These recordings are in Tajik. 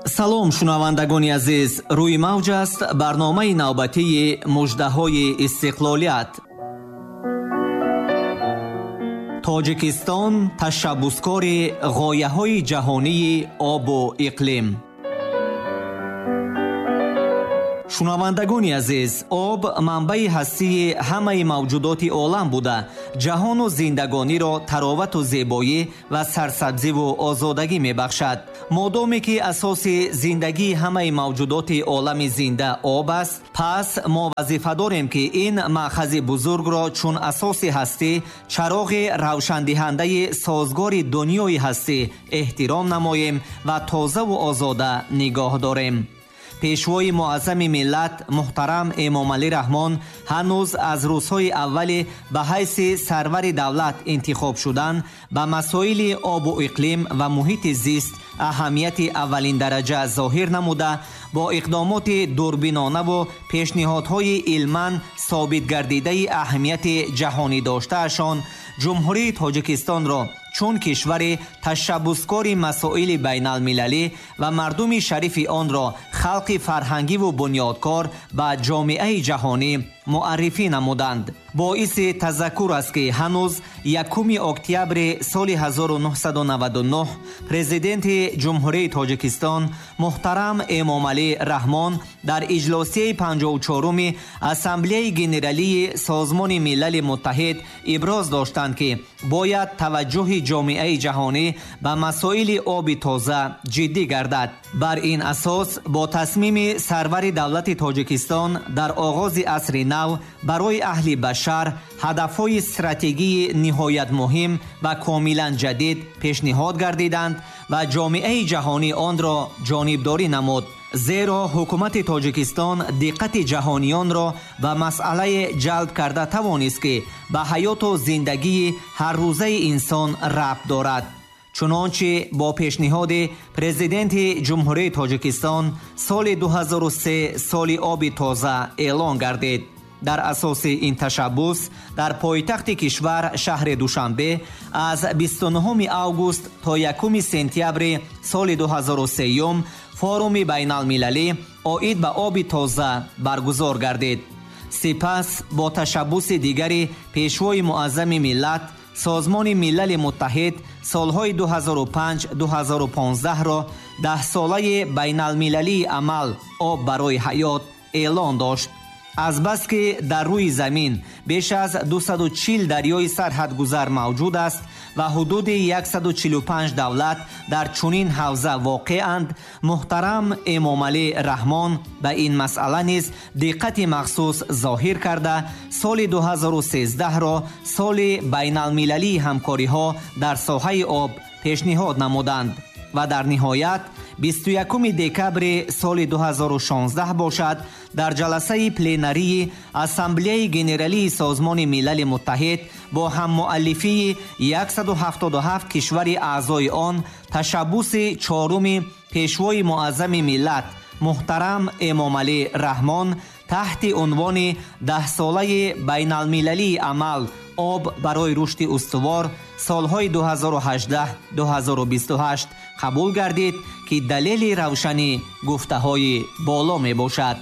Салом, шунавандагони азиз! Рӯи мавҷ аст барномаи навбатии муждаҳои истиқлолият. Тоҷикистон ташаббускори ғояҳои ҷаҳонии обу иқлим. Шунавандагони азиз, об манбаи ҳастии ҳамаи мавҷудоти олам буда, ҷаҳону зиндагониро таровату зебоӣ ва сарсабзиву озодагӣ мебахшад. Модоме ки асоси зиндагии ҳамаи мавҷудоти олами зинда об аст, пас мо вазифа дорем, ки ин маъхази бузургро чун асоси ҳастӣ, чароғи равшандиҳандаи созгори дунёи ҳастӣ эҳтиром намоем ва тозаву озода нигоҳ дорем. Пешвои муаззами миллат муҳтарам Эмомалӣ Раҳмон ҳанӯз аз рӯзҳои аввали ба ҳайси сарвари давлат интихоб шудан ба масоили обу иқлим ва муҳити зист аҳамияти аввалиндараҷа зоҳир намуда, бо иқдомоти дурбинонаву пешниҳодҳои илман собитгардидаи аҳамияти ҷаҳонӣ доштаашон Ҷумҳурии Тоҷикистонро чун кишвари ташаббускори масоили байналмилалӣ ва мардуми шарифи онро халқи фарҳангиву бунёдкор ба ҷомеаи ҷаҳонӣ муаррифӣ намуданд. Боиси тазаккур аст, ки ҳанӯз 1 октябри соли 1999 президенти Ҷумҳурии Тоҷикистон муҳтарам Эмомалӣ Раҳмон дар иҷлосияи 54-уми Ассамблеяи Генералии Созмони Милали Муттаҳид иброз доштанд, ки бояд таваҷҷӯҳи ҷомеаи ҷаҳонӣ ба масоили оби тоза ҷиддӣ гардад. Бар ин асос бо тасмими сарвари давлати Тоҷикистон дар оғози асри нав барои аҳли башар ҳадафҳои стратегии ниҳоят муҳим ва комилан ҷадид пешниҳод гардиданд ва ҷомеаи ҷаҳонӣ онро ҷонибдорӣ намуд. Зеро ҳукумати Тоҷикистон диққати ҷаҳониёнро ба масъалае ҷалб карда тавонист, ки ба ҳаёту зиндагии ҳаррӯзаи инсон рабт дорад. Чунончи бо пешниҳоди президенти Ҷумҳурии Тоҷикистон соли 2003 соли оби тоза эълон гардид. Дар асоси ин ташаббус дар пойтахти кишвар шаҳри Душанбе аз 29 август то 1 сентябри соли 2003 форуми байналмилалӣ оид ба оби тоза баргузор гардид. Сипас бо ташаббуси дигари пешвои муаззами миллат Созмони Милали Муттаҳид солҳои 2005-2015-ро даҳсолаи байналмилалии амал об барои ҳаёт эълон дошт. Азбаски дар рӯи замин беш аз 240 дарёи сарҳадгузар мавҷуд аст ва ҳудуди 145 давлат дар чунин ҳавза воқеанд, муҳтарам Эмомалӣ Раҳмон ба ин масъала низ диққати махсус зоҳир карда, соли 2013-ро соли байналмилалии ҳамкориҳо дар соҳаи об пешниҳод намуданд. Ва дар ниҳоят 21 декабри соли 2016 бошад, дар ҷаласаи пленарии Ассамблеяи Генералии Созмони Милали Муттаҳид бо ҳаммуаллифии 177 кишвари аъзои он ташаббуси чоруми пешвои муаззами миллат муҳтарам Эмомалӣ Раҳмон таҳти унвони даҳсолаи байналмилалии амал об барои рушди устувор солҳои 2018-2028 қабул гардид, ки далели равшани гуфтаҳои боло мебошад.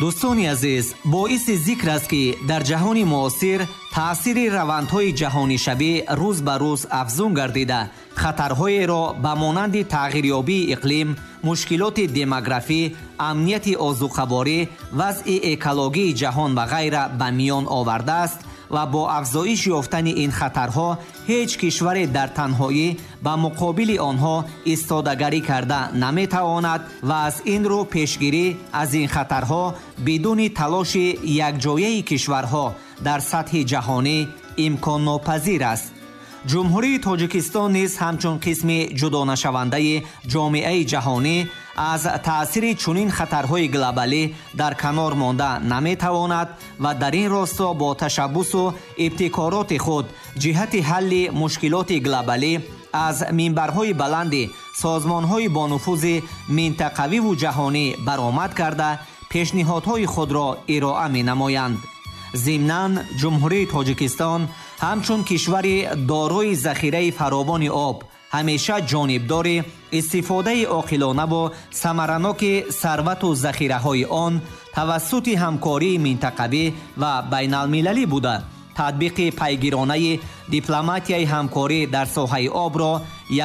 Дӯстони азиз, боиси зикр аст, ки дар ҷаҳони муосир таъсири равандҳои ҷаҳонишавӣ рӯз ба рӯз афзун гардида, хатарҳоеро ба монанди тағйирёбии иқлим, мушкилоти демографӣ, амнияти озуқаворӣ, вазъи экологии ҷаҳон ва ғайра ба миён овардааст ва бо афзоиш ёфтани ин хатарҳо ҳеҷ кишваре дар танҳоӣ ба муқобили онҳо истодагарӣ карда наметавонад ва аз ин рӯ пешгирӣ аз ин хатарҳо бидуни талоши якҷояи кишварҳо дар сатҳи ҷаҳонӣ имконнопазир аст. Ҷумҳурии Тоҷикистон низ ҳамчун қисми ҷудонашавандаи ҷомеаи ҷаҳонӣ аз таъсири чунин хатарҳои глобалӣ дар канор монда наметавонад ва дар ин росто бо ташаббусу ибтикороти худ ҷиҳати ҳалли мушкилоти глобалӣ аз минбарҳои баланди созмонҳои бонуфузи минтақавиву ҷаҳонӣ баромад карда, пешниҳодҳои худро ироа менамоянд. Зимнан Ҷумҳурии Тоҷикистон ҳамчун кишвари дорои захираи фаровони об Ҳамеша ҷонибдори истифодаи оқилонаву самараноки сарвату захираҳои он тавассути ҳамкории минтақавӣ ва байналмилалӣ буда, татбиқи пайгиронаи дипломатияи ҳамкорӣ дар соҳаи обро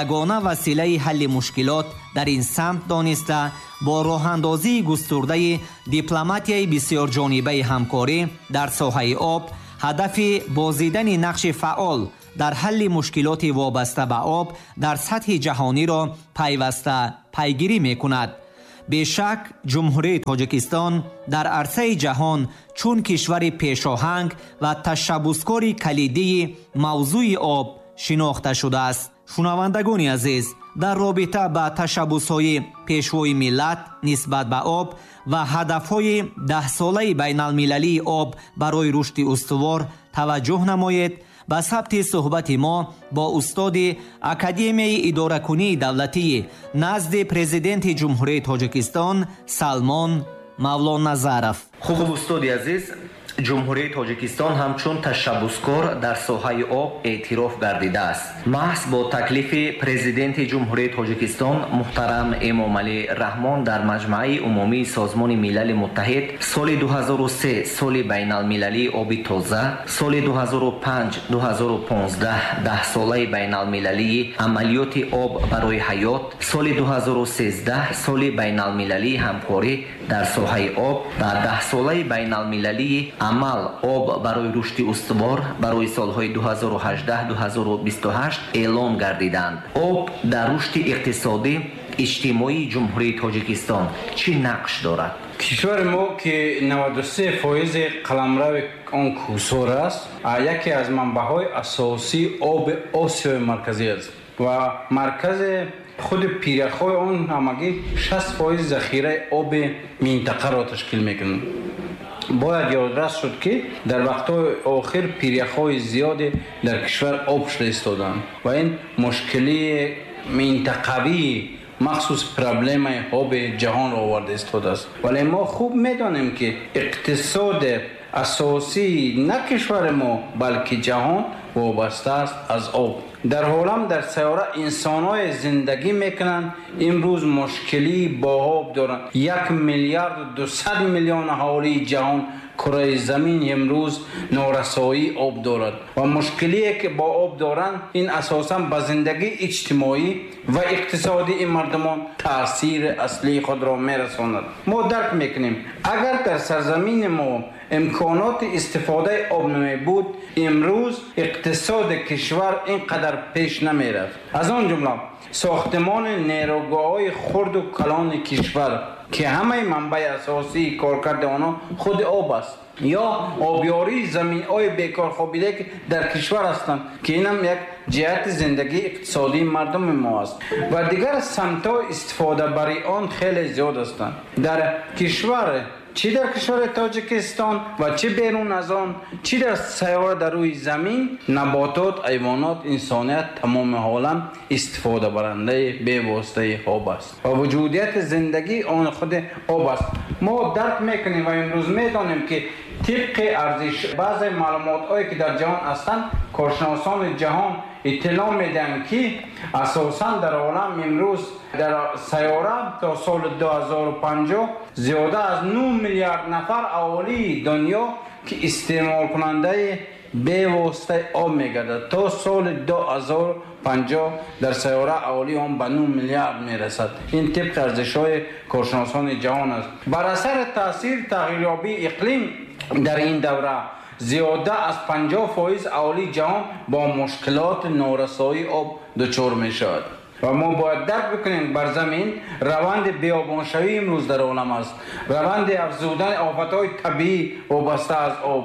ягона василаи ҳалли мушкилот дар ин самт дониста, бо роҳандозии густурдаи дипломатияи бисёрҷонибаи ҳамкорӣ дар соҳаи об ҳадафи бозидани нақши фаъол дар ҳалли мушкилоти вобаста ба об дар сатҳи ҷаҳониро пайваста пайгирӣ мекунад. Бешак, Ҷумҳурии Тоҷикистон дар арсаи ҷаҳон чун кишвари пешоҳанг ва ташаббускори калидии мавзӯи об шинохта шудааст. Шунавандагони азиз, дар робита ба ташаббусҳои Пешвои миллат нисбат ба об ва ҳадафҳои даҳсолаи байналмилалии об барои рушди устувор таваҷҷӯҳ намоед ба сабти суҳбати мо бо устоди Академияи идоракунии давлатии назди Президенти Ҷумҳурии Тоҷикистон Салмон Мавлоназаров. Хуб, устоди азиз, Ҷумҳурии Тоҷикистон ҳамчун ташаббускор дар соҳаи об эътироф гардидааст. Маҳз бо таклифи Президенти Ҷумҳурии Тоҷикистон муҳтарам Эмомалӣ Раҳмон дар Маҷмааи умумии Созмони Милали Муттаҳид соли 2003 соли байналмилалии оби тоза, соли 2005-2015 даҳсолаи байналмилалии амалиёти об барои ҳаёт, соли 2013 соли байналмилалии ҳамкорӣ дар соҳаи об ва даҳсолаи байналмилалии амал об барои рушди устувор барои солҳои 2018-2028 эълон гардиданд. Об дар рушди иқтисодӣ иҷтимоии Ҷумҳурии Тоҷикистон чӣ нақш дорад? Кишвари мо, ки 93% қаламрави он кӯҳсор аст, яке аз манбаъҳои асосии оби Осиёи Марказӣ аст ва маркази худи пиряхҳои он ҳамагӣ 60% захираи оби минтақаро ташкил мекунад. Бояд ёдрас шуд, ки дар вақтҳои охир пиряхҳои зиёде дар кишвар об шуда истоданд ва ин мушкилии минтақавии, махсус проблемаи оби ҷаҳонро оварда истодааст. Вале мо хуб медонем, ки иқтисоди асосии на кишвари мо, балки ҷаҳон вобаста аст аз об. Дар олам, дар сайёра инсонҳое зиндагӣ мекунанд, имрӯз мушкилӣ бо об доранд. 1 миллиарду 200 миллион аҳолии ҷаҳон, кураи замин имрӯз норасоии об дорад ва мушкилие, ки бо об доранд, ин асосан ба зиндагии иҷтимоӣ ва иқтисодии мардумон таъсири аслии худро мерасонад. Мо дарк мекунем, агар дар сарзамини мо имконоти истифодаи об намебуд, имрӯз иқтисоди кишвар ин қадар пеш намерафт. Аз он ҷумла сохтмони нерӯгоҳҳои хурду калони кишвар, ки ҳамаи манбаи асосии коркарди онҳо худи об аст, ё обёрии заминҳои бекор хобидае, ки дар кишвар ҳастанд, ки инам як ҷиҳати зиндагии иқтисодии мардуми мо аст, ва дигар самтҳои истифодабарии он хеле зиёд ҳастанд. Дар кишвар, чӣ дар кишвари Тоҷикистон ва чӣ берун аз он, чӣ дар сайёра, дар рӯи замин, наботот, ҳайвонот, инсоният, тамоми олам истифодабарандаи бевоситаи об аст ва вуҷудияти зиндагии он худи об аст. Мо дарк мекунем ва имрӯз медонем, ки тибқи арзиш баъзе маълумотҳое, ки дар ҷаҳон ҳастанд, коршиносони ҷаҳон иттилоъ медиҳанд, ки асосан дар олам имрӯз, дар сайёра то соли 2050 зиёда аз 9 миллиард нафар аҳолии дунё, ки истеъмолкунандаи бевоситаи об мегардад. То соли 2050 дар сайёра аҳолии он ба 9 миллиард мерасад. Ин тибқи арзишҳои коршиносони ҷаҳон аст. Бар асари таъсири тағйирёбии иқлим дар ин давра зиёда аз 50% аҳолии ҷаҳон бо мушкилоти норасоии об дучор мешавад. Ва мо бояд дарк бикунем, бар замин раванди биёбоншавӣ имрӯз дар олам аст, раванди афзудани офатҳои табиӣ вобаста аз об,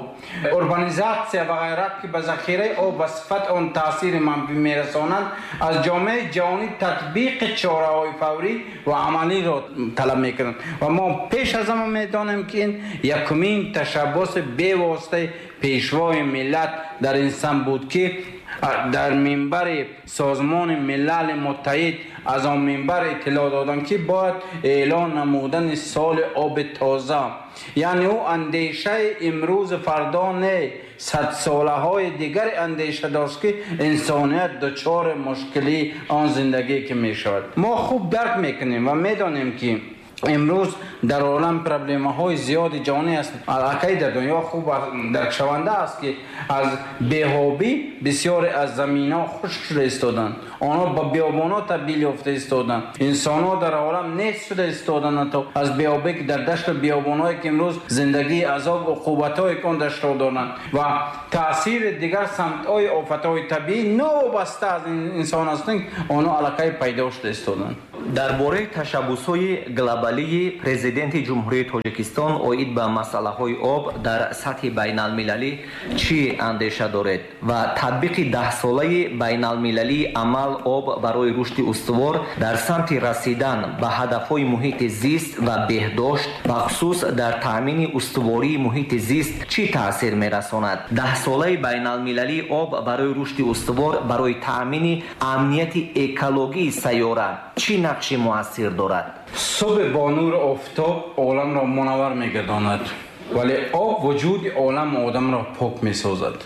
урбанизатсия ва ғайра, ки ба захираи об ва сифати он таъсири манфӣ мерасонанд, аз ҷомеаи ҷаҳонӣ татбиқи чораҳои фаврӣ ва амалиро талаб мекунанд. Ва мо пеш аз ҳама медонем, ки ин якумин ташаббуси бевоситаи Пешвои миллат дар ин самт буд, ки Дар минбари Созмони Милали Муттаҳид аз он минбар иттилоъ доданд, ки бояд эълон намудани соли оби тоза, яъне ӯ андешаи имрӯз фардо не, садсолаҳои дигари андеша дошт, ки инсоният дучори мушкилии он зиндагӣ ки мешавад. Мо хуб дарк мекунем ва медонем, ки имрӯз дар олам проблемаҳои зиёди ҷаҳонӣ аст. Аллакай дар дунё хуб даркшаванда аст, ки аз беобӣ бисёре аз заминҳо хушк шуда истоданд, онҳо ба биёбонҳо табдил ёфта истоданд, инсонҳо дар олам нест шуда истоданд то аз беобӣ, ки дар дашту биёбонҳое ки имрӯз зиндагии азоб уқубатҳое ки он даштро доранд ва таъсири дигар самтҳои офатҳои табиӣ новобаста аз инсон ҳастанд, онҳо аллакай пайдо шуда истоданд. Дар бораи ташаббусҳои глобалии Президенти Ҷумҳурии Тоҷикистон оид ба масъалаҳои об дар сатҳи байналмилалӣ чӣ андеша доред ва татбиқи даҳсолаи байналмилалии амал об барои рушди устувор дар самти расидан ба ҳадафҳои муҳити зист ва беҳдошт, бахусус дар таъмини устувории муҳити зист чӣ таъсир мерасонад? Даҳсолаи байналмилалии об барои рушди устувор барои таъмини амнияти экологии сайёра чӣ нақши муассир дорад? Субҳ бо нури офтоб оламро мунаввар мегардонад, вале об вуҷуди оламу одамро пок месозад.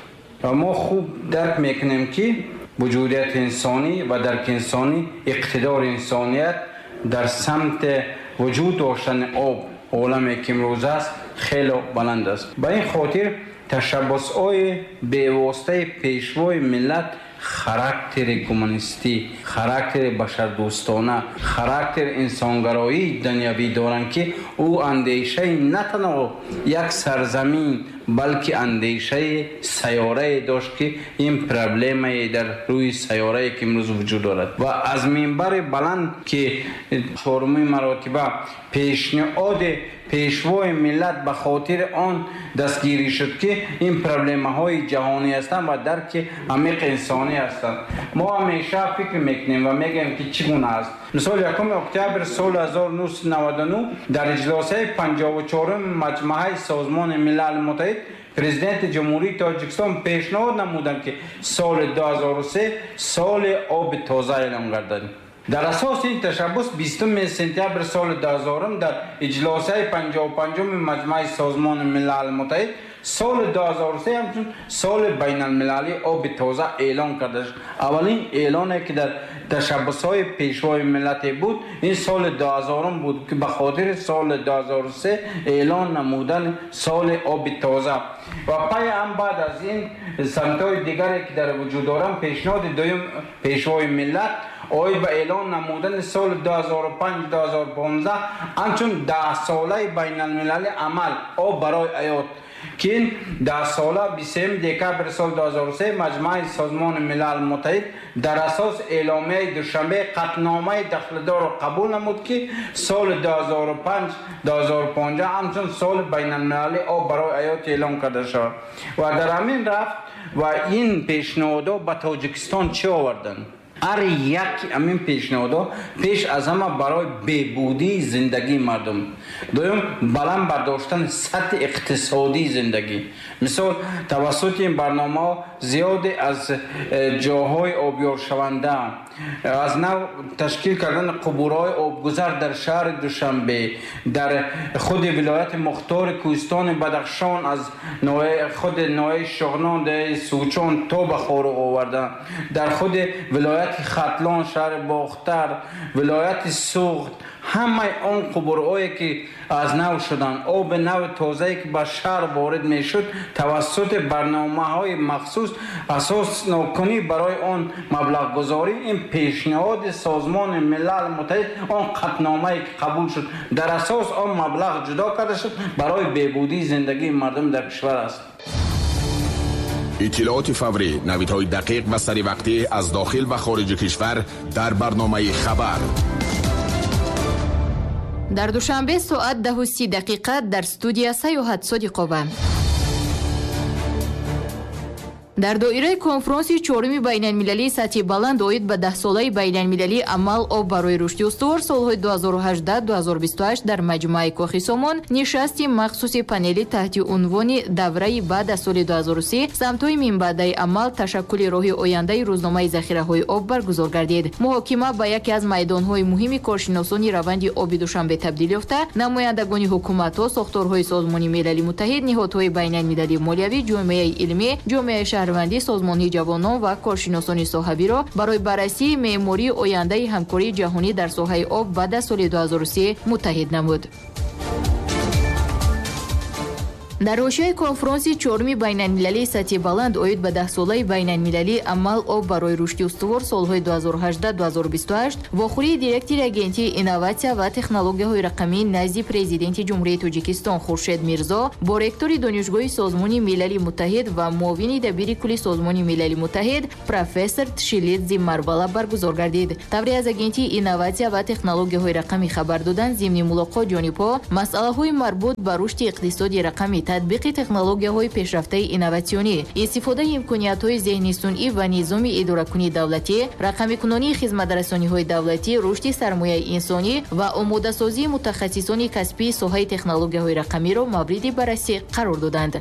Ва мо хуб дарк мекунем, ки вуҷудияти инсонӣ ва дарки инсонӣ, иқтидори инсоният дар самти вуҷуд доштани об, оламе ки имрӯз аст, хеле баланд аст. Ба ин хотир ташаббусҳои бевоситаи Пешвои миллат характери гуманистӣ, характери башардӯстона, характери инсонгароии дунявӣ доранд, ки ӯ андешаи на танҳо як сарзамин, балки андешаи сайёрае дошт, ки ин проблемае дар рӯи сайёрае ки имрӯз вуҷуд дорад. Ва аз минбари баланд, ки чорумин маротиба пешниҳоди Пешвои миллат ба хотири он дастгирӣ шуд, ки ин проблемаҳои ҷаҳонӣ ҳастанд ва дарки амиқи инсонӣ ҳастанд. Мо ҳамеша фикр мекунем ва мегӯем, ки чӣ гуна аст. Мисол, 1 октябр соли 1999 дар иҷлосаи 54-уми Маҷмаъаи Созмони Милали Муттаҳид Президенти Ҷумҳурии Тоҷикистон пешниҳод намуданд, ки соли 2003 соли оби тоза эълон гардад. Дар асоси ин ташаббус 20 сентябр соли 2000 дар иҷлосаи 55-уми Маҷмаъи Созмони Милали Муттаҳид соли 2003 ҳамчун соли байналмилалии оби тоза эълон карда шуд. Аввалин эълоне, ки дар ташаббусҳои Пешвои миллате буд, ин соли 2000 буд, ки ба хотири соли 2003 эълон намудани соли оби тоза. Ва пай ҳам баъд аз ин самтҳои дигаре, ки дар вуҷуд доранд, пешниҳоди дуюм Пешвои миллат оид ба эълон намудани соли 2005-2015 ҳамчун даҳсолаи байналмилалии амал об барои ҳаёт, ки ин даҳсола 23 декабри соли 2003 Маҷмаъи Созмони Милали Муттаҳид дар асос эъломияи Душанбе қатъномаи дахлдорро қабул намуд, ки соли 2005-2015 ҳамчун соли байналмилалии об барои ҳаёт эълон карда шавад. Ва дар ҳамин рафт ва ин пешниҳодҳо ба Тоҷикистон чӣ оварданд? Ҳар як ҳамин пешниҳодҳо пеш аз ҳама барои беҳбудии зиндагии мардум, дуюм, баланд бардоштани сатҳи иқтисодии зиндагӣ. Мисол, тавассути ин барномаҳо зиёде аз ҷоҳои обёршаванда, аз нав ташкил кардани қубурҳои обгузар дар шаҳри Душанбе, дар худи вилояти мухтори Кӯҳистони Бадахшон, аз худи ноҳияи Шоҳнон, деҳаи Сучон то ба Хоруғ овардан, дар худи вилояти Хатлон, шаҳри Бохтар, вилояти Суғд, ҳамаи он қубурҳое, ки аз нав шуданд, оби нави тозае, ки ба шаҳр ворид мешуд, тавассути барномаҳои махсус асоснокунӣ барои он маблағгузорӣ. Ин пешниҳоди Созмони Милали Муттаҳид, он қатъномае, ки қабул шуд, дар асос он маблағ ҷудо карда шуд барои беҳбудии зиндагии мардум дар кишвар аст. Иттилооти фаврӣ, навидҳои дақиқ ва саривақтӣ аз дохил ва хориҷи кишвар дар барномаи «Хабар». Дар Душанбе соат 10:30, дар студия Саёҳат Содиқова. Дар доираи конфронси чоруми байналмилалии сатҳи баланд оид ба даҳсолаи байналмилалии амал об барои рушди устувор солҳои 2018-2028 дар маҷмӯаи Кохи Сомон нишасти махсуси панели таҳти унвони давраи баъд аз соли 2030 самтҳои минбаъдаи амал ташаккули роҳи ояндаи рӯзномаи захираҳои об баргузор гардид. Муҳокима ба яке аз майдонҳои муҳими коршиносони раванди оби Душанбе табдил ёфта, намояндагони ҳукуматҳо, сохторҳои Созмони Милали Муттаҳид, ниҳодҳои байналмилалии молиявӣ, ҷомеаи илмӣ, ҷомеаи шаҳрвандӣ, созмонҳои ҷавонон ва коршиносони соҳавиро барои баррасии меъмории ояндаи ҳамкории ҷаҳонӣ дар соҳаи об баъд аз соли 2030 муттаҳид намуд. Дар ҳошияи конфронси чоруми байналмилалии сатҳи баланд оид ба даҳсолаи байналмилалии амал об барои рушди устувор солҳои 2018-2028 вохӯрии директори Агентии инноватсия ва технологияҳои рақамӣ назди Президенти Ҷумҳурии Тоҷикистон Хуршед Мирзо бо ректори Донишгоҳи Созмони Милали Муттаҳид ва муовини дабири кулли Созмони Милали Муттаҳид профессор Тшилидзи Марвала баргузор гардид. Тавре аз Агентии инноватсия ва технологияҳои рақамӣ хабар доданд, зимни мулоқот ҷонибҳо масъалаҳои марбут ба рушди иқтисоди рақамӣ, татбиқи технологияҳои пешрафтаи инноватсионӣ, истифодаи имкониятҳои зеҳни сунъӣ ва низоми идоракунии давлатӣ, рақамикунонии хизматрасониҳои давлатӣ, рушди сармояи инсонӣ ва омодасозии мутахассисони касбии соҳаи технологияҳои рақамиро мавриди баррасӣ қарор доданд.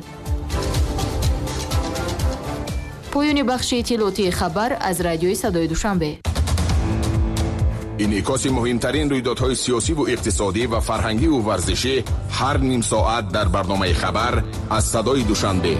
Поёни бахши иттилоотии хабар аз радиои Садои Душанбе. Инъикоси муҳимтарин рӯйдодҳои сиёсиву иқтисодӣ ва фарҳангиву варзишӣ ҳар ним соат дар барномаи хабар аз Садои Душанбе.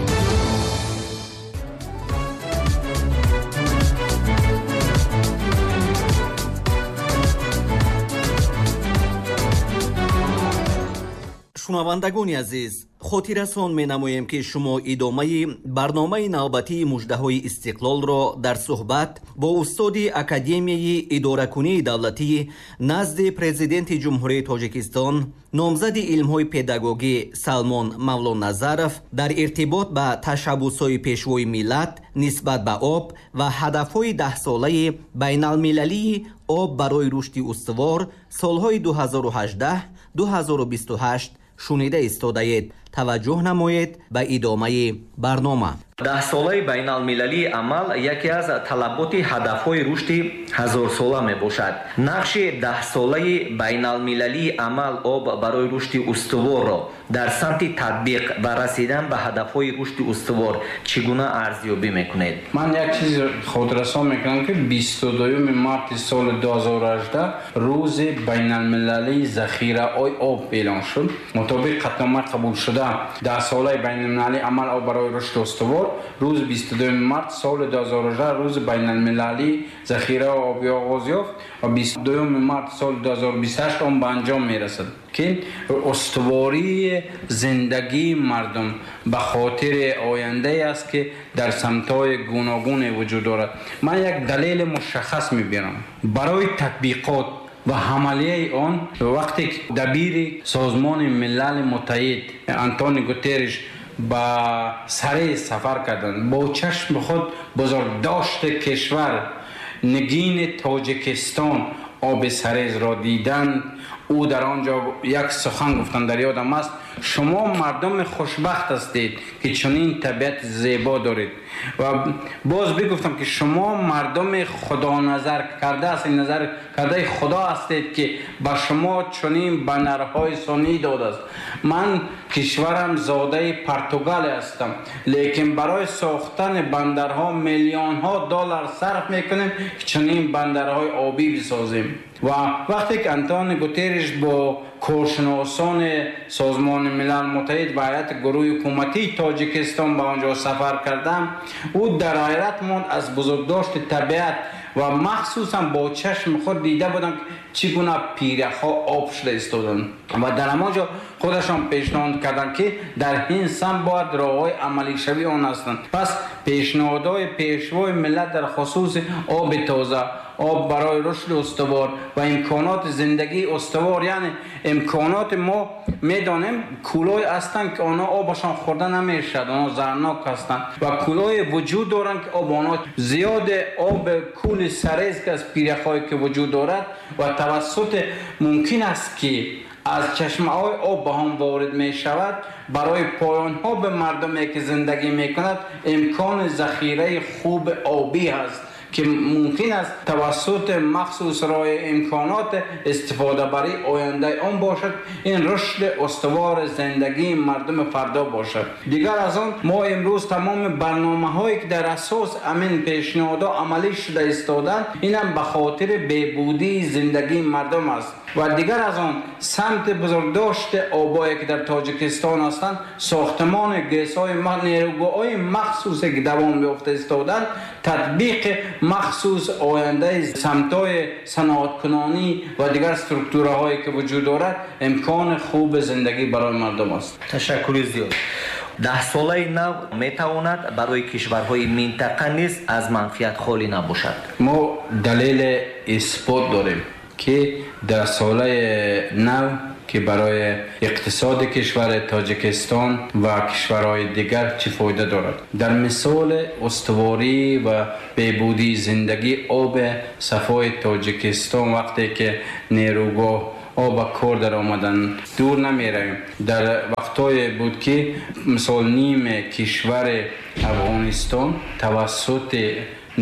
Шунавандагони азиз, хотиррасон менамоем, ки шумо идомаи барномаи навбатии муждаҳои истиқлолро дар суҳбат бо устоди Академияи идоракунии давлатӣ назди Президенти Ҷумҳурии Тоҷикистон, номзади илмҳои педагогӣ Салмон Мавлоназаров дар иртибот ба ташаббусҳои пешвои миллат нисбат ба об ва ҳадафҳои даҳсолаи байналмилалии об барои рушди устувор солҳои 2018-2028 шунида истодаед. Таваҷҷӯҳ намоед ба идомаи барнома. Даҳсолаи байналмилалии амал яке аз талаботи ҳадафҳои рушди ҳазорсола мебошад. Нақши даҳсолаи байналмилалии амал об барои рушди устуворро дар самти татбиқ ва расидан ба ҳадафҳои рушди устувор чӣ гуна арзёбӣ мекунед? Ман як чиз хотиррасон мекунам, ки 22 марти соли 2018 рӯзи байналмилалии захираҳои об эълон шуд. Мутобиқ қатънома қабул шуда даҳсолаи байналмилалии амал об барои рушди устувор рӯзи 22 март соли 2018 рӯзи байналмилалии захираи обӣ оғоз ёфт ва 22 март соли 2028 он ба анҷом мерасад, ки устувории зиндагии мардум ба хотири ояндае аст, ки дар самтҳои гуногуне вуҷуд дорад. Ман як далели мушаххас мебирам барои татбиқот ва ҳамалияи он. Вақте ки дабири Созмони Милали Муттаҳид Антони Гутерриш ба Сарез сафар карданд, бо чашми худ бузургдошти кишвар, нигини Тоҷикистон, оби Сарезро диданд. Ӯ дар он ҷо як сухан гуфтанд, дар ёдам аст: шумо мардуми хушбахт ҳастед, ки чунин табиати зебо доред. Ва боз бигуфтам, ки шумо мардуми худоназар карда ҳастед, назар кардаи Худо ҳастед, ки ба шумо чунин банарҳои сунъӣ додааст. Ман кишварам зодаи Португалия ҳастам, лекин барои сохтани бандарҳо миллионҳо доллар сарф мекунем, ки чунин бандарҳои обӣ бисозем. Ва вақте ки Антони Гутерриш бо коршиносони Созмони Милал Муттаҳид ва ҳайати гурӯҳи ҳукуматии Тоҷикистон ба он ҷо сафар кардам, ӯ дар ҳайрат монд аз бузургдошти табиат ва махсусан бо чашми худ дида будам, ки чӣ гуна пиряхҳо об шуда истоданд. Ва дар ҳамон ҷо худашон пешниҳод карданд, ки дар ин самт бояд роҳҳои амалишавии он ҳастанд. Пас пешниҳодҳои пешвои миллат дар хусуси оби тоза, об барои рушди устувор ва имконоти зиндагии устувор, яъне имконоти мо медонем кӯлҳое ҳастанд, ки онҳо обашон хӯрда намешавад, онҳо зарнок ҳастанд, ва кӯлҳое вуҷуд доранд, ки об онҳо зиёде об кӯли Сарез, ки аз пиряхҳое ки вуҷуд дорад ва тавассути мумкин аст, ки аз чашмаҳои об ба он ворид мешавад, барои поёнҳо ба мардуме ки зиндагӣ мекунад имкони захираи хуби обӣ ҳаст ки мумкин аст тавассути махсус роҳи имконот истифодабарии ояндаи он бошад. Ин рушди устувори зиндагии мардуми фардо бошад. Дигар аз он мо имрӯз тамоми барномаҳое ки дар асос ҳамин пешниҳодҳо амалӣ шуда истодаанд, инам ба хотири беҳбудии зиндагии мардум аст. Ва дигар аз он самти бузургдошти обое ки дар Тоҷикистон ҳастанд, сохтмони ГЭСҳои нерӯгоҳҳои махсусе ки давом ёфта истодаанд, татбиқи махсус ояндаи самтҳои саноаткунонӣ ва дигар структураҳое ки вуҷуд дорад, имкони хуби зиндагӣ барои мардум аст. Ташаккури зиёд. Даҳсолаи нав метавонад барои кишварҳои минтақа низ аз манфиат холӣ набошад. Мо далели исбот дорем ки даҳсолаи нав ки барои иқтисоди кишвари Тоҷикистон ва кишварҳои дигар чӣ фоида дорад. Дар мисоли устуворӣ ва беҳбудии зиндагӣ оби сафои Тоҷикистон вақте ки нерӯгоҳ об ба кор дар омадан дур намеравем. Дар вақтҳое буд ки мисол ниме кишвари Афғонистон тавассути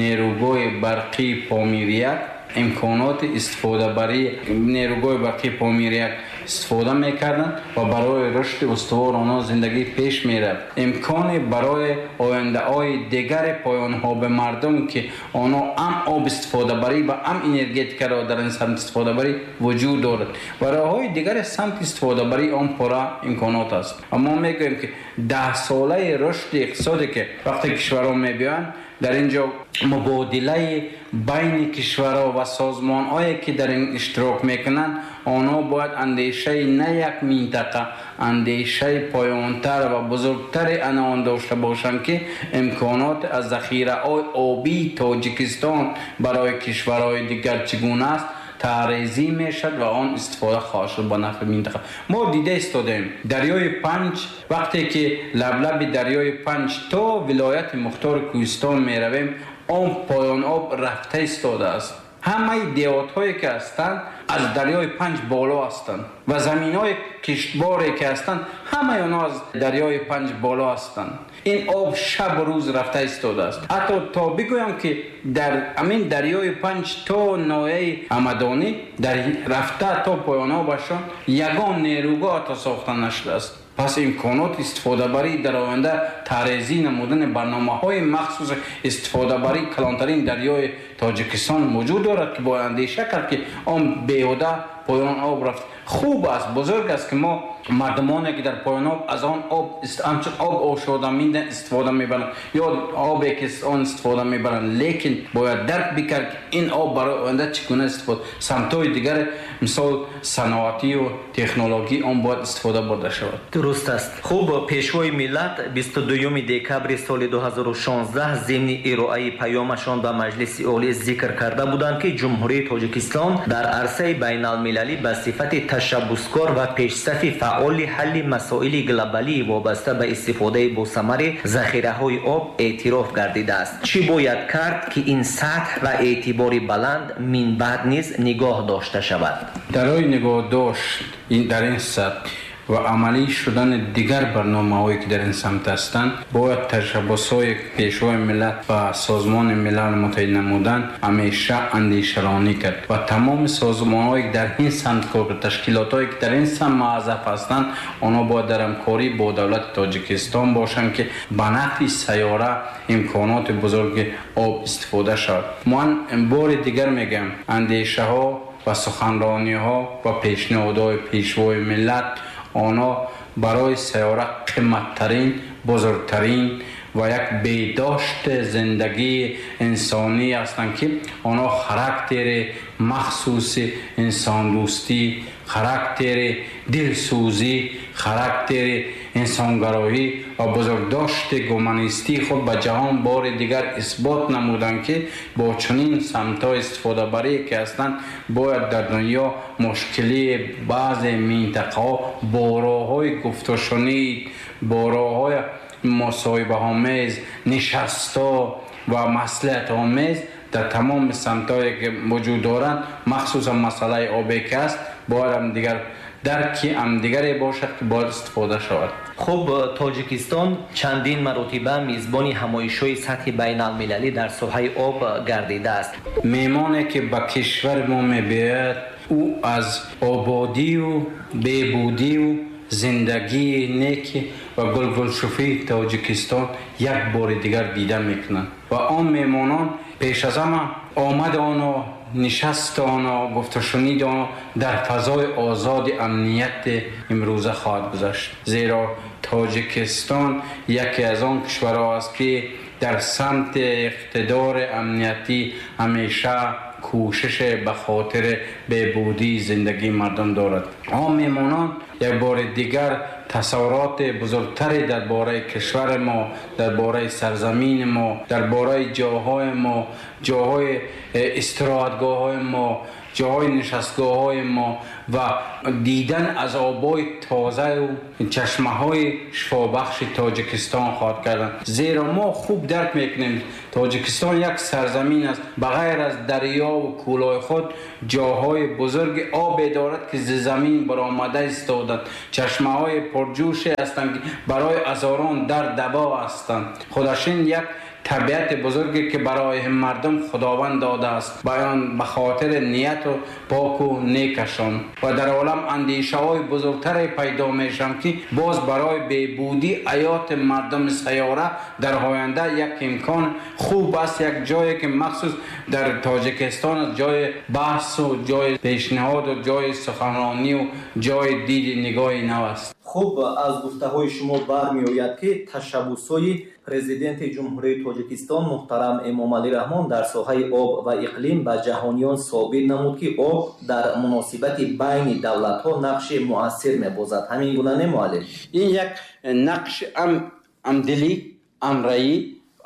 нерӯгоҳи барқии Помирияк имконоти истифодабарии нерӯгоҳи барқии Помирияк истифода мекарданд ва барои рушди устувор онҳо зиндагӣ пеш мерафт. Имкони барои ояндаҳои дигари поёнҳо ба мардум ки онҳо ҳам об истифодабарӣ ва ҳам энергетикаро дар ин самт истифодабарӣ вуҷуд дорад ва роҳҳои дигари самти истифодабарии он пурра имконот аст. Ва мо мегӯем ки даҳсолаи рушди иқтисоде ки вақте кишварҳо мебиёянд, дар ин ҷо мубодилаи байни кишварҳо ва созмонҳое ки дар ин иштирок мекунанд, онҳо бояд андешаи на як минтақа, андешаи поёнтар ва бузургтари ана он дошта бошанд ки имконот аз захираҳои обии Тоҷикистон барои кишварҳои дигар чӣ гуна аст, тарезӣ мешавад ва он истифода хоҳад шуд ба нафъи минтақа. Мо дида истодаем дарёи Панҷ, вақте ки лаблаби дарёи Панҷ то вилояти Мухтори Кӯҳистон меравем, он поён об рафта истодааст. Ҳамаи деҳотҳое ки ҳастанд аз дарёи Панҷ боло ҳастанд ва заминҳои киштборе ки ҳастанд ҳамаи онҳо аз дарёи Панҷ боло ҳастанд. Ин об шаб рӯз рафта истодааст. Ҳатто то бигӯям ки дар ҳамин дарёи Панҷ то ноҳияи Ҳамадонӣ дар рафта то поёнобашон ягон нерӯгоҳ ҳатто сохта нашудааст. Пас имконот истифодабарӣ дар оянда тарезӣ намудани барномаҳои махсуси истифодабарии калонтарин дарёи Тоҷикистон вуҷуд дорад ки бояд андеша кард ки он беҳуда поён об рафт. Хуб аст, бузург аст ки мо мардумоне ки дар поён об аз он об ҳамчун об ошодамида истифода мебаранд ё обе ки он истифода мебаранд, лекин бояд дарк бикард ки ин об барои оянда чӣ гуна истифода, самтҳои дигар мисол саноатию технологӣ он бояд истифода бурда шавад. Дуруст аст. Хуб, Пешвои миллат 22 декабри соли 2016 зимни ироаи паёмашон ба Маҷлиси Олӣ зикр карда буданд, ки Ҷумҳурии Тоҷикистон дар арсаи байналмилалӣ ба сифати ташаббускор ва пешсафи фаъоли ҳалли масоили глобалии вобаста ба истифодаи босамари захираҳои об эътироф гардидааст. Чӣ бояд кард, ки ин сатҳ ва эътибори баланд минбаъд низ нигоҳ дошта шавад? Дарои нигоҳдошт дар ин сатҳ ва амалӣ шудани дигар барномаҳое ки дар ин самт ҳастанд, бояд ташаббусҳои Пешвои миллат ва Созмони Милали Муттаҳид намудан ҳамеша андешаронӣ кард ва тамоми созмонҳое ки дар ин самт кор, ташкилотҳое ки дар ин самт муаззаф ҳастанд, онҳо бояд дар ҳамкорӣ бо давлати Тоҷикистон бошанд ки ба нафъи сайёра имконоти бузурги об истифода шавад. Ман бори дигар мегӯям, андешаҳо ва суханрониҳо ва пешниҳодҳои Пешвои миллат онҳо барои сайёра қиматтарин, бузургтарин ва як бедошти зиндагии инсонӣ ҳастанд ки онҳо характери махсуси инсондӯстӣ, характери дилсӯзӣ, характери инсонгароӣ ва бузургдошти гуманистии худ ба ҷаҳон бори дигар исбот намуданд ки бо чунин самтҳо истифодабарие ки ҳастанд, бояд дар дунё мушкилии баъзе минтақаҳо бо роҳҳои гуфтушунид, бо роҳҳои мусоҳибаомез, нишастҳо ва маслиҳатомез дар тамоми самтҳое ки вуҷуд доранд, махсусан масъалаи обе ки аст, бояд ҳам дигар Дарки ҳамдигаре бошад, ки бояд истифода шавад. Хуб, Тоҷикистон чандин маротиба мизбони ҳамоишҳои сатҳи байналмилалӣ дар соҳаи об гардидааст. Меҳмоне, ки ба кишвари мо мебиёяд, ӯ аз ободию бебудию зиндагии неки ва гулгулшуфии Тоҷикистон як бори дигар дида мекунанд ва он меҳмонон пеш аз ҳама омади онҳо, нишасти онҳо, гуфтушуниди онҳо дар фазои озоди амнияти имрӯза хоҳад гузашт. Зеро Тоҷикистон яке аз он кишварҳо аст, ки дар самти иқтидори амниятӣ ҳамеша кӯшиш ба хотири беҳбудии зиндагии мардум дорад. Он меҳмонон як бори дигар тасаввуроти бузургтаре дар бораи кишвари мо, дар бораи сарзамини мо, дар бораи ҷоҳои мо, ҷоҳои истироҳатгоҳҳои мо, ҷоҳои нишастгоҳҳои мо ва дидан аз обҳои тозаю чашмаҳои шифобахши Тоҷикистон хоҳад кардан. Зеро мо хуб дарк мекунем, Тоҷикистон як сарзамин аст, ба ғайр аз дарёву кӯлҳои худ ҷоҳои бузурги обе дорад, ки зи замин баромада истоданд. Чашмаҳои пурҷӯше ҳастанд, ки барои ҳазорон дард даво ҳастанд. Худаш ин як табиати бузурге, ки барои мардум Худованд додааст, баён ба хотири нияту поку некашон. Ва дар олам андешаҳои бузургтаре пайдо мешаванд, ки боз барои беҳбудии ҳаёти мардуми сайёра дар оянда як имкон хуб аст. Як ҷое, ки махсус дар Тоҷикистон аст, ҷои баҳсу ҷои пешниҳоду ҷои суханронию ҷои диди нигоҳи нав аст. Хуб, аз гуфтаҳои шумо бармеояд, ки ташаббусҳои Президенти Ҷумҳурии Тоҷикистон муҳтарам Эмомалӣ Раҳмон дар соҳаи об ва иқлим ба ҷаҳониён собит намуд, ки об дар муносибати байни давлатҳо нақши муассир мебозад. Ҳамин гуна не, муаллим? Ин як нақши ҳамдилӣ, ҳамраӣ,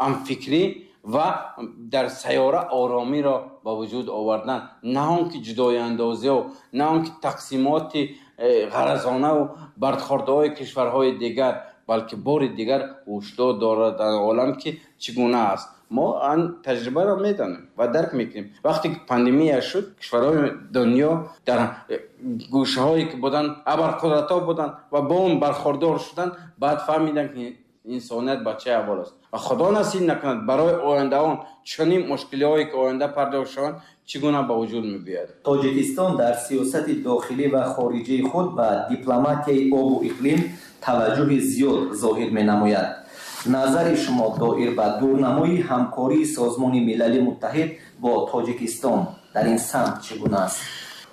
ҳамфикрӣ ва дар сайёра оромиро ба вуҷуд овардан, на он ки ҷудоиандозиҳо, на он ки тақсимоти ғаразонаву бардхордаҳои кишварҳои дигар, балки бори дигар ҳушдор дорад дар олам, ки чӣ гуна аст. Мо ан таҷрибаро медонем ва дарк мекунем. Вақте ки пандемия шуд, кишварҳои дунё дар гӯшаҳое ки буданд, абарқудратҳо буданд ва бо он бархӯрдор шуданд, баъд фаҳмиданд, ки инсоният ба чӣ аҳвол аст. Ва Худо насиб накунад барои ояндаон чунин мушкилиҳое, ки оянда пардохт шаванд, чӣ гуна ба вуҷуд мебиёяд. Тоҷикистон дар сиёсати дохилӣ ва хориҷии худ ба дипломатияи обу иқлим таваҷҷӯҳи зиёд зоҳир менамояд. Назари шумо доир ба дурнамои ҳамкории Созмони Милали Муттаҳид бо Тоҷикистон дар ин самт чӣ гуна аст?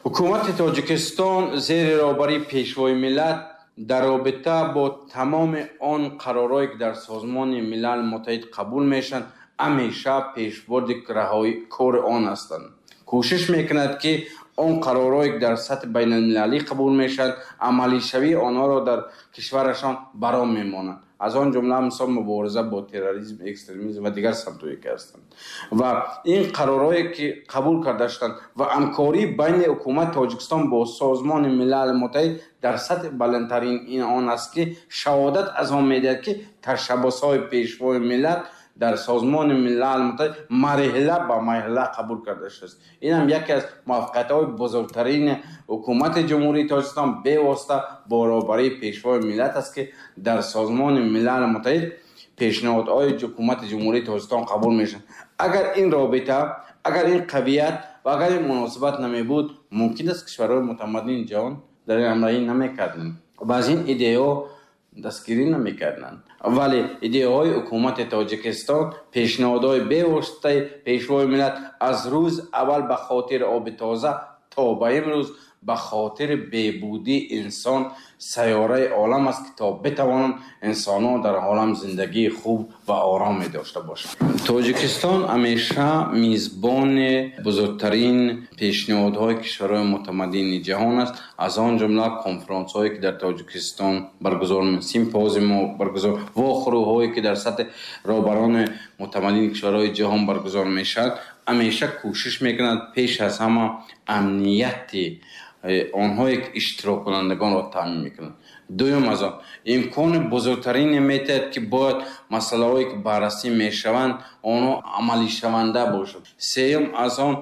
Ҳукумати Тоҷикистон зери роҳбарии Пешвои миллат дар робита бо тамоми он қарорҳое, ки дар Созмони Милали Муттаҳид қабул мешаванд, ҳамеша пешбурди раҳои кори он ҳастанд. Кӯшиш мекунад, ки он қарорҳое, ки дар сатҳи байналмилалӣ қабул мешаванд, амалишавии онҳоро дар кишварашон баром мемонанд. Аз он ҷумла мисол мубориза бо терроризм, экстремизм ва дигар самтҳое, ки ҳастанд. Ва ин қарорҳое, ки қабул карда шуданд ва ҳамкории байни ҳукумати Тоҷикистон бо Созмони Милали Муттаҳид дар сатҳи баландтарин ин он аст, ки шаҳодат аз он медиҳад, ки ташаббусҳои Пешвои миллат дар Созмони Милали Муттаҳид марҳила ба марҳила қабул карда шудааст. Ин ҳам яке аз муваффақиятҳои бузургтарини ҳукумати Ҷумҳурии Тоҷикистон бевосита бо роҳбарии Пешвои миллат аст, ки дар Созмони Милали Муттаҳид пешниҳодҳои ҳукумати Ҷумҳурии Тоҷикистон қабул мешаванд. Агар ин робита, агар ин қавият ва агар ин муносибат намебуд, мумкин аст кишварҳои мутамаддини ҷаҳон дар ин ҳамроҳӣ намекарданд ва аз ин идеяҳо дастгирӣ намекарданд. Вале идеяҳои ҳукумати Тоҷикистон, пешниҳодҳои бевоситаи Пешвои миллат аз рӯз аввал ба хотири оби тоза то ба имрӯз ба хотири беҳбудии инсон сайёраи олам аст, ки то битавонанд инсонҳо дар олам зиндагии хуб ва ороме дошта бошанд. Тоҷикистон ҳамеша мизбони бузургтарин пешниҳодҳои кишварҳои мутамаддини ҷаҳон аст, аз он ҷумла конфронсҳое, ки дар Тоҷикистон баргузор, симпозиумҳо баргузор, вохӯриҳое, ки дар сатҳи роҳбарони мутамаддини кишварҳои ҷаҳон баргузор мешавад, ҳамеша кӯшиш мекунад пеш аз ҳама амнияти онҳое, ки иштироккунандагонро таъмин мекунанд. Дуюм, аз он имкони бузургтарине метиҳад, ки бояд масъалаҳое, ки баррасӣ мешаванд, онҳо амалишаванда бошанд. Сеюм, аз он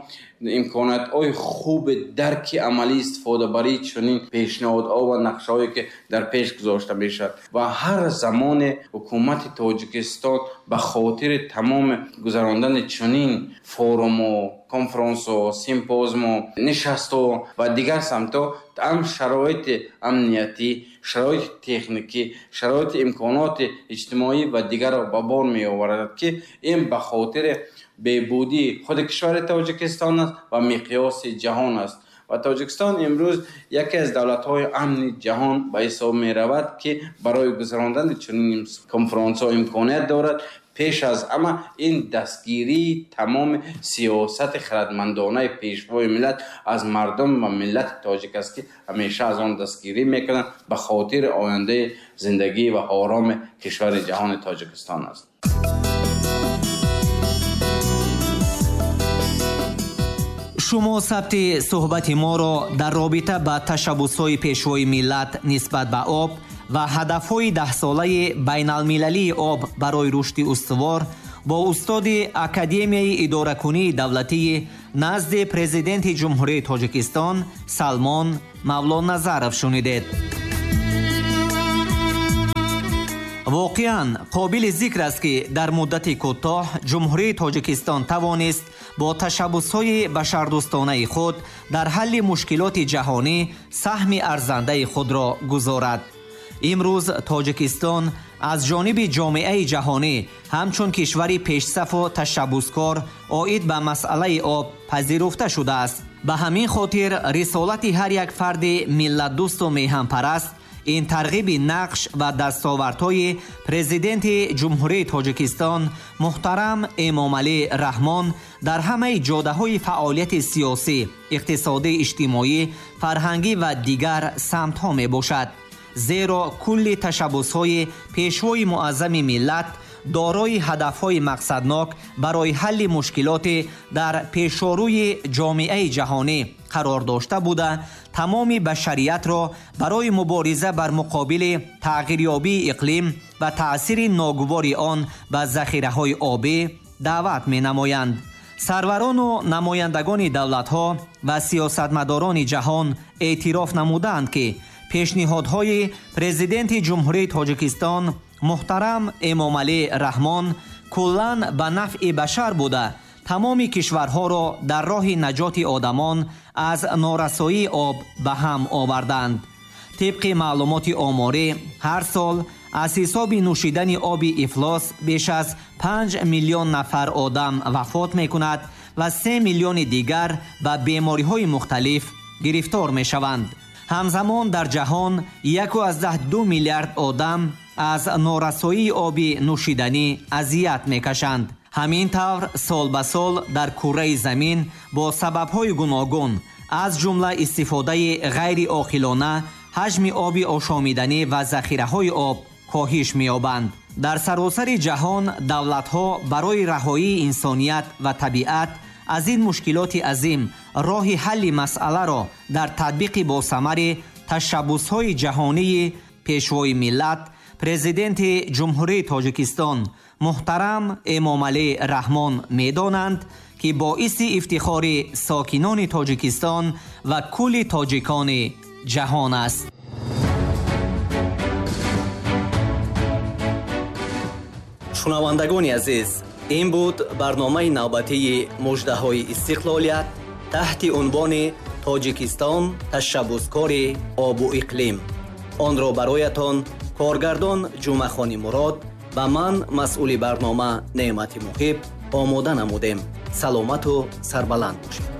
Имкониятҳои хуби дарки амалӣ истифодабарии чунин пешниҳодҳо ва нақшаҳое ки дар пеш гузошта мешавад ва ҳар замоне ҳукумати Тоҷикистон ба хотири тамоми гузарондани чунин форуму, конфронсҳо, симпозиуму, нишастҳо ва дигар самтҳо ҳам шароити амниятӣ, шароити техникӣ, шароити имконоти иҷтимоӣ ва дигарро ба бор меоварад, ки ин ба хотири беҳбудии худи кишвари Тоҷикистон аст ва миқёси ҷаҳон аст. Ва Тоҷикистон имрӯз яке аз давлатҳои амни ҷаҳон ба ҳисоб меравад, ки барои гузарондани чунин конфронсҳо имконият дорад. Пеш аз ҳама ин дастгирии тамоми сиёсати хирадмандонаи пешвои миллат аз мардум ва миллати тоҷик аст, ки ҳамеша аз он дастгирӣ мекунанд ба хотири ояндаи зиндагӣ ва ороми кишвари ҷаҳони Тоҷикистон аст. Шумо сабти суҳбати моро дар робита ба ташаббусҳои пешвои миллат нисбат ба об ва ҳадафҳои даҳсолаи байналмилалии об барои рушди устувор бо устоди Академияи идоракунии давлатии назди Президенти Ҷумҳурии Тоҷикистон Салмон Мавлоназаров шунидед. Воқеан қобили зикр аст, ки дар муддати кӯтоҳ Ҷумҳурии Тоҷикистон тавонист бо ташаббусҳои башардӯстонаи худ дар ҳалли мушкилоти ҷаҳонӣ саҳми арзандаи худро гузорад. Имрӯз Тоҷикистон аз ҷониби ҷомеаи ҷаҳонӣ ҳамчун кишвари пешсафу ташаббускор оид ба масъалаи об пазируфта шудааст. Ба ҳамин хотир рисолати ҳар як фарди миллатдӯсту меҳанпараст ин тарғиби нақш ва дастовардҳои Президенти Ҷумҳурии Тоҷикистон муҳтарам Эмомалӣ Раҳмон дар ҳамаи ҷодаҳои фаъолияти сиёсӣ, иқтисодӣ, иҷтимоӣ, фарҳангӣ ва дигар самтҳо мебошад. Зеро кулли ташаббусҳои пешвои муаззами миллат дорои ҳадафҳои мақсаднок барои ҳалли мушкилоти дар пешорӯи ҷомеаи ҷаҳонӣ қарор дошта буда, тамоми башариятро барои мубориза бар муқобили тағйирёбии иқлим ва таъсири ногувори он ба захираҳои обӣ даъват менамоянд. Сарварону намояндагони давлатҳо ва сиёсатмадорони ҷаҳон эътироф намуданд, ки пешниҳодҳои Президенти Ҷумҳурии Тоҷикистон муҳтарам Эмомалӣ Раҳмон куллан ба нафъи башар буда, тамоми кишварҳоро дар роҳи наҷоти одамон аз норасоии об ба ҳам оварданд. Тибқи маълумоти оморӣ, ҳар сол аз ҳисоби нӯшидани оби ифлос беш аз 5 миллион нафар одам вафот мекунад ва 3 миллиони дигар ба бемориҳои мухталиф гирифтор мешаванд. Ҳамзамон дар ҷаҳон 1,2 миллиард одам аз норасоии оби нӯшиданӣ азият мекашанд. Ҳамин тавр сол ба сол дар курраи замин бо сабабҳои гуногун, аз ҷумла истифодаи ғайриоқилона, ҳаҷми оби ошомиданӣ ва захираҳои об коҳиш меёбанд. Дар саросари ҷаҳон давлатҳо барои раҳоии инсоният ва табиат аз ин мушкилоти азим роҳи ҳалли масъаларо дар татбиқи босамари ташаббусҳои ҷаҳонии пешвои миллат, Президенти Ҷумҳурии Тоҷикистон муҳтарам Эмомалӣ Раҳмон медонанд, ки боиси ифтихори сокинони Тоҷикистон ва кулли тоҷикони ҷаҳон аст. Шунавандагони азиз, ин буд барномаи навбатии муждаҳои истиқлолият таҳти унвони Тоҷикистон ташаббускори обу иқлим. Онро бароятон коргардон Ҷумъахони Мурод ва ман масъули барнома Неъмати Муҳиб омода намудем. Саломату сарбаланд бошед.